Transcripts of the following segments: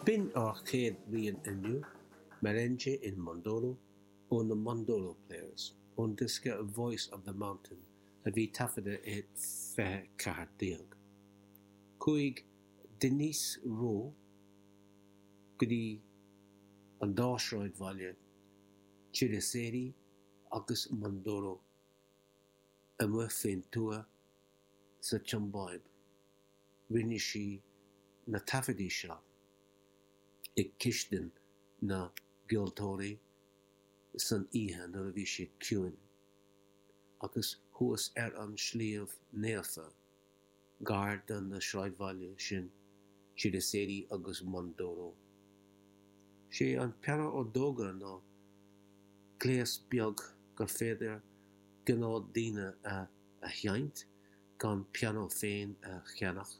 B'in ár chéad rian inniu, Merengue in Mondoro ó na Mondoro Players, ón diosca Voice of the Mountain a bhí taifeadta i 2014. Chuaigh Denise Rowe go dtí an dá shráidbhaile, Chiriseri agus Mondoro, amuigh faoin tuath sa tSiombáib. Rinne sí na taifeadtaí seo i gcistin na gceoltóirí san oíche nuair a bhí siad ciúin, agus thuas ar an sliabh naofa gar do na sráidbhaile sin, Chiriseri agus Mondoro. Sé an pianó ordóga ná gléas beag gur féidir gnáthdaoine a a sheinnt gan pianó féin a cheannach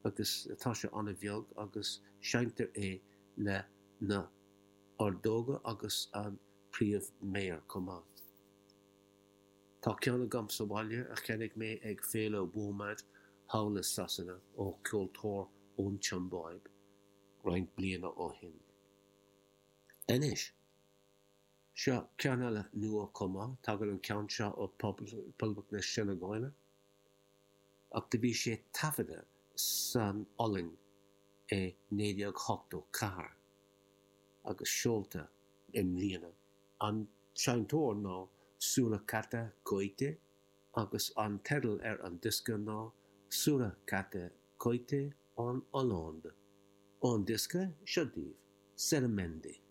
agus tá sé an-bheag agus seinntear é le na ordóga agus an príomh-mhéar chomh maith. Tá ceann agam sa bhaile a cheannaigh mé ag féile WOMAD thall i Sasana ó cheoltóir ón tSiombáib roinnt bliana ó shin. Anois. Seo ceann eile nua chomh maith, tagann an ceann seo ó Poblacht na Seineagáile, ach do bhí sé taifeadta san Ollainn i 1984 agus seolta i mbliana. An seinnteoir ná Soulakata Koité agus an teideal ar an diosca ná Soulakata Koité en Hollande. Ón diosca, seo daoibh, Selemende.